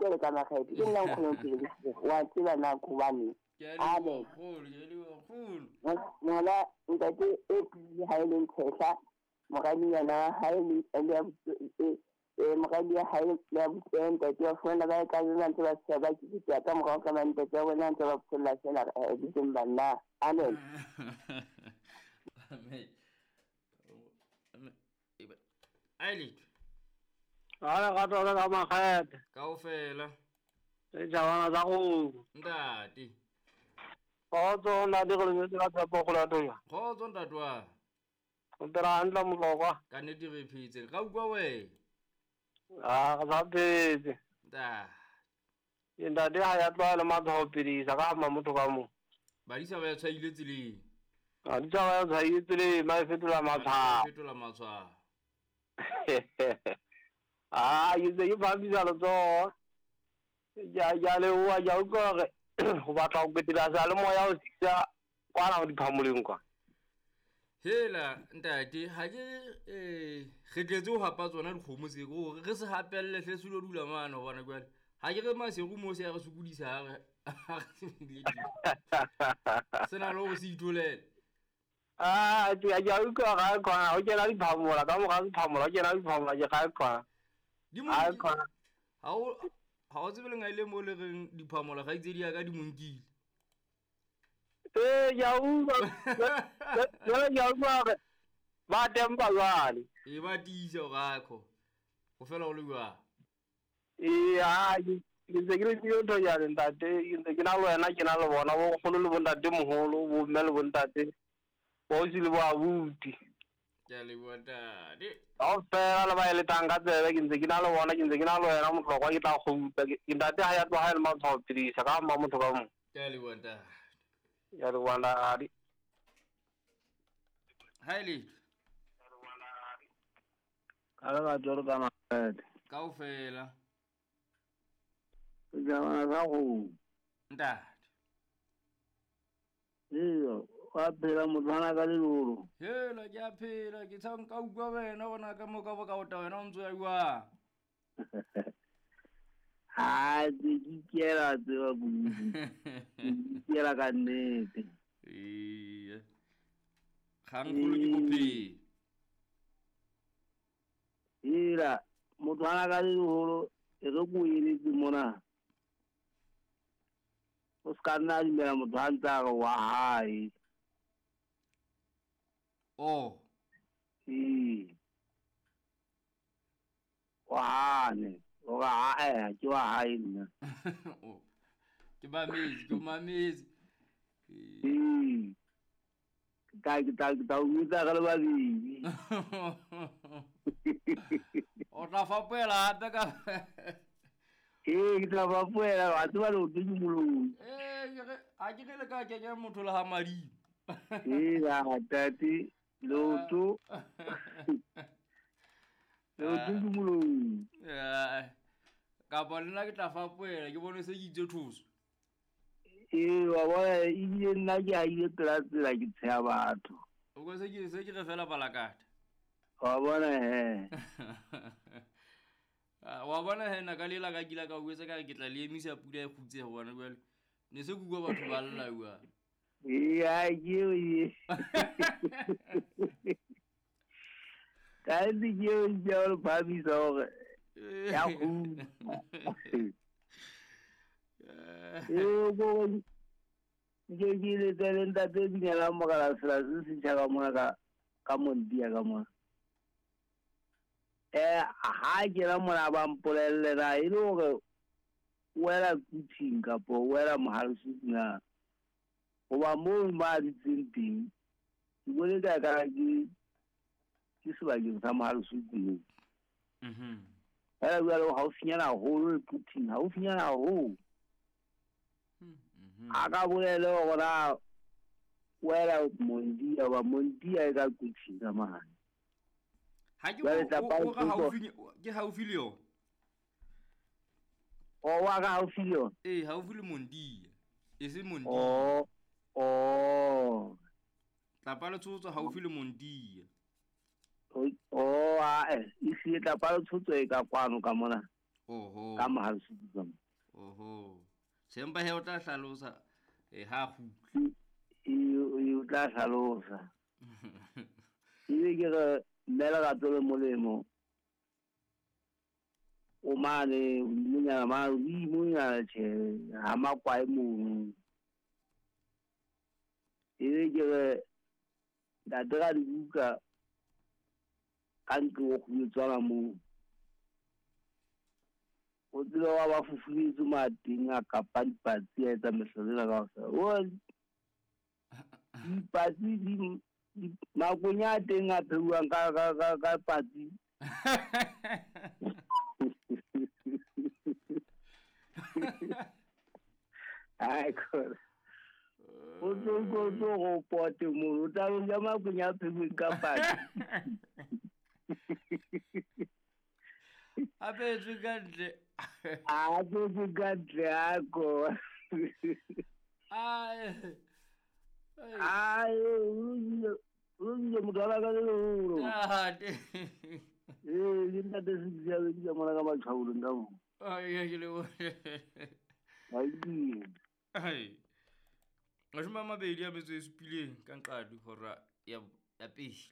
Lerato le ka makgethe ke nna nkgono phele wa tseba na hobane. Amen. Ngwana ntate e pele ha e le ntshehla moradinyana wa hae le moradi wa hae le abuti ntate wa fumana ba ka ba ntse ba tseba ba ke ka morao ka ntate wa bona ntse ba pholla fela bitseng banna. Amen. Amen. Aile. Ala ka tlo ka makgethe. Kaofela. Le jawana tsa go. Ntate. Kgotso ntate go le ka tshepo go latoya. Kgotso ntate wa. O dira hantle motlokwa. Ka nnete re phetse. Ga utlwa wena. Ah, re sa phetse. Ntate. Ntate ha ya tlwaela matshwao pedisa ka ama motho ka mo. Badisa ba ya tshwaile tseleng. Badisa ba ya tshwaile tseleng, ba e fetola matshwao. Fetola matshwao. Ah, ke se ke phamisa letsoho. Ke a leboha, ke a utlwa hore ho batla ho kwetela seyalemoya ho sisa kwana ho diphamoleng kwa. Hela ntate, ha ke re tletse ho hapa tsona dikgomo tse hore re se hapelle hle se lo dula mane hobane jwale ha ke re maseru mo se ya re sokodisa ha re se na le hore se itolele. Ah, ke a utlwa ga khona ho kena diphamola ka mora diphamola ho kena diphamola ke ga khona. Ha o tsebe lenga ile mo le reng diphamola ga itse di ya ka di monkile. Ee, ke a utlwa. Jwale ke a utlwa hore ba tempa jwale. E ba tiisa hore ha kho. Ho fela ho le jwang. Ee, ha ke ntse ke le ntho jwale ntate, ke ntse ke na le wena, ke na le bona bo nkgono le bontate moholo, bo mme le bontate. Bo ausi le bo abuti. Ke a leboha ntate. Kaofela le ba eletang ka tsebe ke ntse ke na le bona, ke ntse ke na le wena motlokwa ke tla kgutla. Ke ntate ha ya tloha e le matshwao pedisa ka ama motho ka mong. Ke a leboha ntate. Ke a leboha ntate. Ha e letho. Ka lerato le ka makgethe. Kaofela. Sejana sa kgomo. Ntate. Eya, wa phela mothwana ka lelolo. Hela ke a phela, ke tsha nka utlwa wena gona ka mo ka bo ka ota wena o ntse o ya jwang. Ha ke ikela tseba kudu. Ke ikela ka nnete. Ee. Kgangkgolo ke bophelo. Hela mothwana ka lelolo e re ko eletse mona. O ska nna dumela motho a ntse a re wa hae. Oh. Ee. Wa hane. O re ae ke wa hae nna. Oh. Ke mametse, ke mametse. Ee. Ka ke tla o botsa re le babedi. O tla fapoela hape ka. Ee, ke tla fapoela, wa tseba leoto ke moloi. Ee, ha ke re le ka kenya motho le ha madimo. Ee, ntate, leoto. Leoto ke moloi. Kapa le nna ke tla fapoela, ke bone se ke itse thuso. Ee, wa bona ebile nna ke ahile pela tsela ke tsheha batho. O ko se ke re fela balakata. Wa bona he. Wa bona he nna ka lela ka kila ka o etsa ka re ke tla le emisa pula e kgutse hobane jwale ne se ke utlwa batho ba lla jwang. Ee, ha ke eo e. Ka nnete ke eo ke a o phamisa hore ya kgutla. Ee, ko nke ke letse le ntate Binyela Mogala sela se setjha ka mona ka Montia ka mona. Ha ke la mona ba mpolelle na e le hore wela Kuting kapo wela Mohale's na. Hoba moo ba dutseng teng, ke bone ka ka ke sebakeng sa Mohale's moo. Mhm. Fela jwale haufinyana haholo le Kuting, haufinyana haholo. Mhm. A ka bolele hore na wela Mondia ba Mondia e ka Kuting ka mane. Ha ke o ka haufi ke haufi le yona. O wa ka haufi le yona? Ee, haufi le Mondia. E se Mondia. Oh. Oh. Tlapa le tshotso haufi le Mondia. Oh, a e se tlapa le tshotso e ka kwano ka mona. Oho. Ka Mohalesuthu ka mo. Oho. Sempa he o tla hlalosa ha kgutla. E o tla hlalosa. Ebe ke re mme Lerato le molemo. O mane hodimonyana mane hodimonyana tjhe ha makwae mono. Ebe ke re ntate ra dibuka ka ntlo o kgumetswana moo. O tsebe wa ba fufuletswe mateng a kapa dipatsi a etsa mehlolo ena kaofela. O dipatsi di makonya a teng a pheuwang ka patsi. Ai khona. O tlo go pote mono o tla ja makonya a pheuweng ka patsi. A phetswe ka ntle. A phetswe ka ntle a ko. Ai. Ai, o ile motho ka le leholo. Ntate. Ee, ke ntate se ke ke mona ka matshwaolong ka mo. Ai, ke le bo. Ai. Ai. 27 ka nqadi hora ya pele.